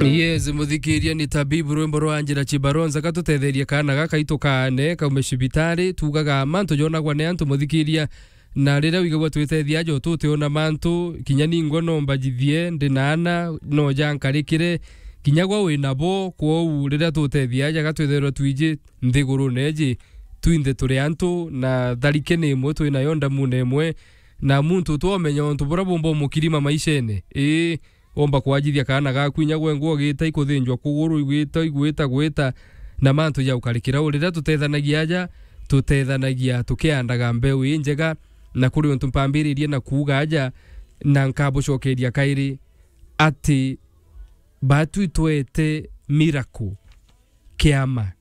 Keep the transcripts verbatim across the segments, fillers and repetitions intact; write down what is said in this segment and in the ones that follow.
Yes, muthikiria ni Tabibu, rwimbo rwa Angela Chibaronza, katutetherie kaana gaka itu kaane kaume cibitari, tugaga mantu jonagwa ni antu, muthikiria, na riria wigagua twitethia aja ututiona mantu, kinya ningwa no mbajithie, ndi na ana, no jankarikire, kinya gwa wi nabo, kwou riria tutethia aja gatwitherwa twiji nthigurune iji, twinthe turi antu, na tharike ni imwe twinayo ndamune imwe, na muntu twomenya untu buria bumba umukirima maishene. Ii, omba kwajithia kaana gaku inya gwengwa ugita ikuthinjwa kuguru, igwita, igwita, gwita, na mantu ja ukarikira u. Riria tutethanagia aja, tutethanagia tukiandaga mbeu injega, na kuri untu mpambiririe na kuuga aja, na nkabucokeria kairi, ati baatu itwete miracle kiama.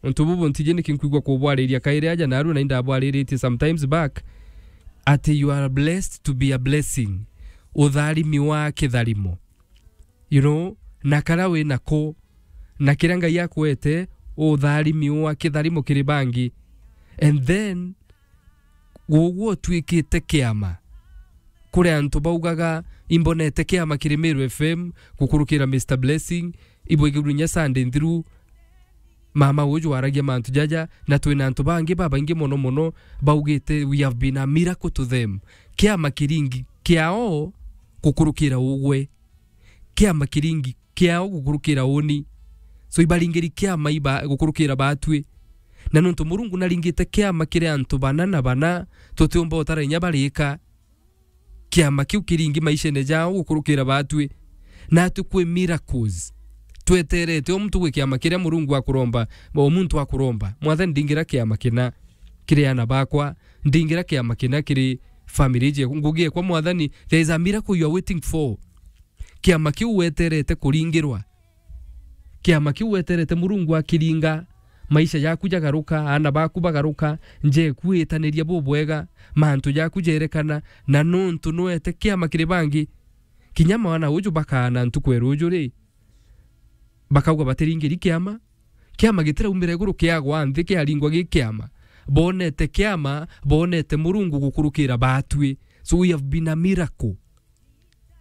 Untu bubu ntiji niki nkwigua kubwariria kairi aja narua na indabwariritie sometimes back, ati you are blessed to be a blessing. Utharimi wa kitharimo. You know, na kara wi nako, na kiria Ngai akwete, utharimi wa kitharimo kiri bangi. And then, Gugwo utwikite kiama. Kuri antu baugaga, "Imbonete kiama kiri Meru F M, gukurukira Mister Blessing, ibwigirwe inya Sunday nthiru, mama uju aragia mantu jaja, na twina antu bangi babaingi mono mono baugite, 'We have been a miracle to them.'" Kiama kiringi kiao gukurukira ugwe. Kiama kiringi kiao gukurukira uni. So ibaringiri kiama iba gukurukira batwi. Na nontu Murungu naringite kiama kiri antu bana na bana, tutiumba utara inya barika. Kiama kiu kiringi maishene jao gukurukira batwi. Natwi kwi miracles. Tweterete o muntu gwi kiama kiria Murungu akuromba, o muntu akuromba. Mwathani, ndingira kiama kina kiri ana bakwa, ndingira kiama kina kiri family je, ngugi ekwa Mwathani, there is a miracle you are waiting for. Kiama kiu weterete kuringirwa. Kiama kiu weterete Murungu akiringa, maisha jaku jagaruka, aana baku bagaruka, nja eku itaniria bubwega, mantu jaku jerekana, na nontu nwete kiama kiri bangi. Kinya mwana uju bakaana ntuku ya ruju ri, bakauga batiringiri kiama. Kiama gitiraumira iguru kiagwa nthi kiaringwa gi kiama. Bonete kiama, bonete Murungu gukurukira batwi. So we have been a miracle.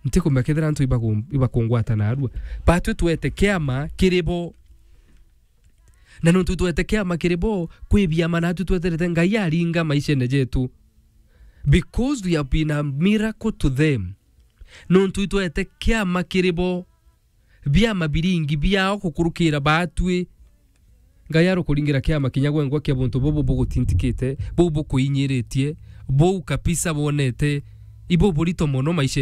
Ntikumenya kethira antu ibaku-, ibakungwata narua. Batwi twete kiama kiri bo. Na nontu twete kiama kiri bo, kwi biama natwi tweterete Ngai aringa maishene jetu. Because we have been a miracle to them. Nontu itwete kiama kiri bo. Biama biringi biao gukurukira batwi. Ngai arukuringira kiama kinya gwengwa kia buntu bubu bugutintikite, buu bukuinyiritie, buu kabisa bonete, ibu burito mono maishene.